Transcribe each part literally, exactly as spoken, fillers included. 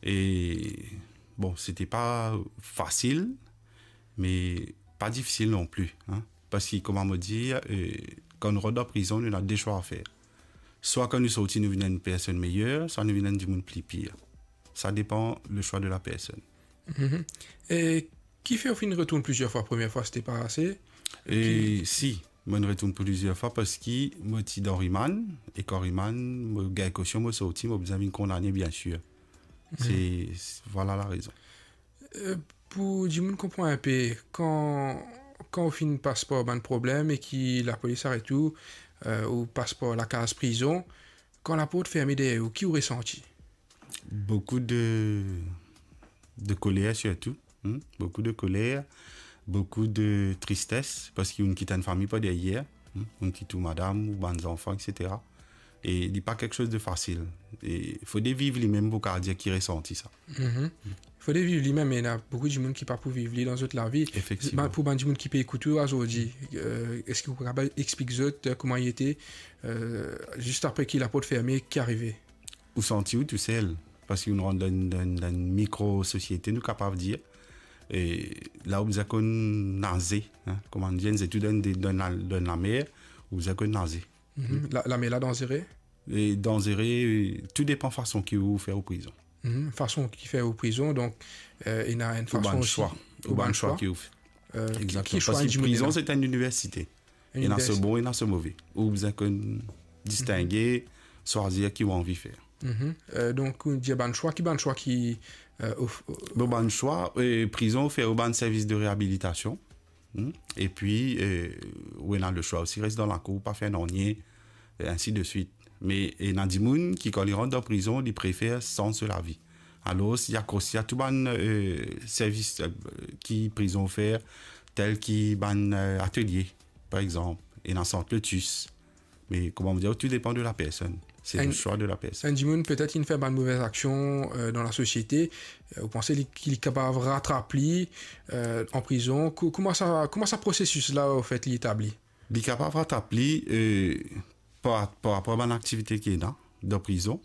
E, bon, sete pa fasil, me pa difisil non pli, hein. Parski, kouma mo dir, eh, kan nou rant dan prizon, nou ena de swa a fer. Swa kan nou sorti, nou vinn enn personn meyer, swa nou vinn enn dimoun pli pir. Sa depan le swa de la personn. Mhm. E ki fer ou finn retourn plizier fwa? Premie fwa, sete pa ase? E ki- si, mo retourn plizier fwa parski mo ti dan rimand, e kan rimand, mo gagn kosion, mo sorti, mo bizin vinn kondane, biensir. Mhm. Se, se, vwala larezon. Eh, pou dimoun konpran inpe, kan, kan ou finn pas par bann problem e ki lapolis aret ou, eh, ou pas par lakaz prizon, kan laport ferme deryer ou, ki ou resanti? Boukou de, de koler sirtou, hmm? Boukou de koler, boukou de tristes, parski ou'nn kit enn fami par deryer, hmm? Ou'nn kit ou madam, ou bann zanfan, et cetera. E li pa kiksoz de fasil. E fode viv limem pou kapav dir ki resanti sa. Mhm. Fode viv limem, me ena boukou dimoun ki pa pou viv li dan zot lavi. Efektivman. Ba, pou bann dimoun ki pe ekout ou azordi, eh, eski ou kapav explik zot, eh, kouma li ete, eh, zis apre ki laport ferme, ki arive? Ou santi ou tousel, parski nou rant dan, dan, dan enn mikro sosiete, nou kapav dir. E la ou bizin konn naze, hein, kouma nou dir, nou tou dan, dan, dan lamer, ou bizin konn naze. Mhm. La, lamer la danzere? E danzere, tou depan fason ki ou fer ou prizon. Mhm. Fason ki fer ou prizon, donk, eh, ena enn fason osi. Ou bann swa. Ou bann swa ki ou fer. Eh, ki, ki swa enn dimoun ena? Egzakteman. Parski prizon, se enn iniversite. Ena so bon, ena so move. Ou bizin konn distinge, swazir ki ou anvi fer. Mhm. Eh, donk, ou dir bann swa, ki bann swa ki, eh, of-, Bon, bann swa, eh, prizon fer ou bann servis de reabilitasion. Hmm? Epi, eh, ou ena le swa osi res dan lakour, pa fer nanye, e ainsi de suite. Me ena dimoun ki, kan li rant dan prizon, li prefer sanz so lavi. Alor, li akros li a tou bann, eh, servis, eh, ki prizon ofer, tel ki bann, eh, atelie, par exanp, ena Sant Lotus. Me kouma mo dir, tou depan de la personn. Se le swa de la personn. Enn dimoun petet inn fer bann move aksion, eh, dan lasosiete, eh, ou panse li, ki li kapav ratrap li, eh, an prizon? Kou-, kouma sa, kouma sa prosesis la, anfet, li etabli? Li kapav ratrap li, eh, par, par rapor a bann aktivite ki ena dan prizon,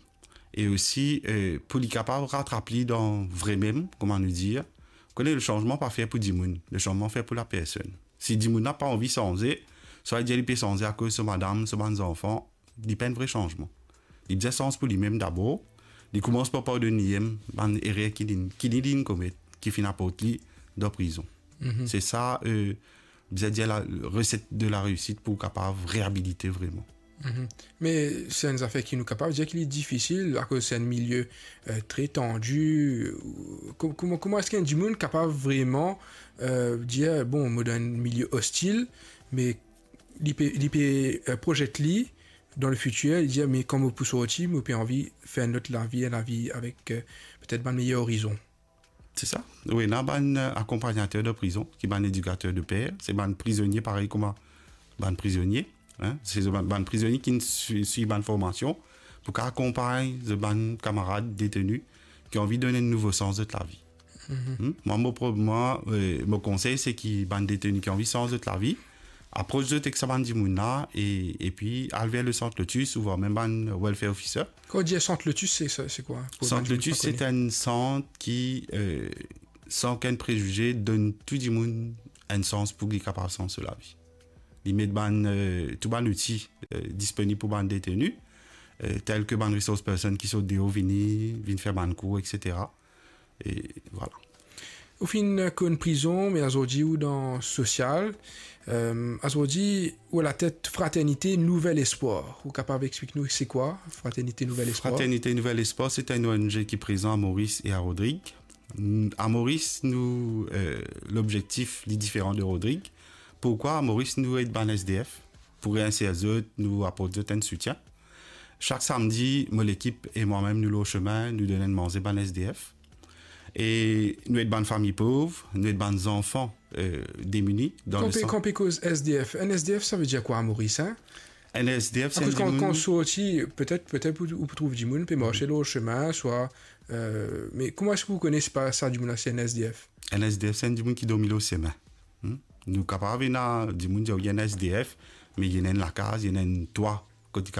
e osi, eh, pou li kapav ratrap li dan vre mem, kouma nou dir, kone le sanzman pa fer pou dimoun, le sanzman fer pou la personn. Si dimoun la pa anvi sanze, swa li dir li pe sanze akoz so madam, so bann zanfan, li pa enn vre sanzman. Li bizin sanz pou limem dabor, li koumans par pardonn limem bann erer ki li, ki li, li'nn komet, ki finn aport li dan prizon. Mhm. Se sa, eh, bizin dir la reset de la reysit pou kapav reabilite vreman. Mhm. Me se enn zafer ki nou kapav dir ki li difisil, akoz se enn milie, eh, tre tandi. Ko-, kouma, kouma eski enn dimoun kapav vreman, eh, dir, bon, mo dan enn milie ostil, me li pe, li pe, eh, proyekt li dan le fitir, li dir, me kan mo pou sorti, mo pe anvi fer enn lot lavi, enn lavi avek, eh, petet bann meyer orizon. Se sa. Ou ena bann, eh, akonpagnater de prizon, ki bann edikater de per, se bann prizonie parey kouma bann prizonie, hein, se bann, bann prizonie ki swi-, swiv bann formasion pou kapav akonpagn zot bann kamarad deteni ki anvi donn enn nouvo sans zot lavi. Mhm. Hmm? Mwa, mo pro-, mwa, eh, mo konsey, se ki bann deteni ki anvi sanz zot lavi, apros zot ek sa bann dimoun la, e, epi al ver le Sant Lotus, oubien mem bann welfare officer. Kan ou dir Sant Lotus, se, se, se kwa? Pou bann dimoun ki pa kone. Sant Lotus, se enn sant ki, eh, san okenn prezize, donn tou dimoun enn sans pou li kapav sanz so lavi. Li met bann, eh, tou bann outi, eh, disponib pou bann deteni, eh, tel ki bann resource person ki sort deor vini, vinn fer bann kour, et cetera. E vwala. Ou finn konn prizon, me azordi ou dan sosial. Eh, azordi ou latet Fraternité Nouvel Espoir. Ou kapav explik nou se kwa, Fraternité Nouvel Espoir? Fraternité Nouvel Espoir, se enn O N G ki prezan a Moris e a Rodrig. N-, a Moris, nou, eh, lobzektif, li diferan de Rodrig. Poukwa a Moris, nou ed bann S D F pou reinser zot, nou aport zot enn soutien. Sak samdi, mo lekip e mwa mem, nou lor sime, nou donn enn manze bann S D F. E nou ed bann fami pov, nou ed bann zanfan, eh, demini dan le sant. Kan pe, kan pe koz S D F, enn S D F, sa ve dir kwa a Moris, hein? Enn S D F, se enn dimoun. Akoz kan, kan ou sorti, petet, petet ou, ou pou trouv dimoun pe marse lor sime, swa, eh, me kouma eski ou kone si pa sa dimoun la se enn S D F? Enn S D F, se enn dimoun ki dormi lor sime. Hmm? Nou kapav ena dimoun dir, wi, enn S D F, me li ena enn lakaz, li ena enn twa kot li kapav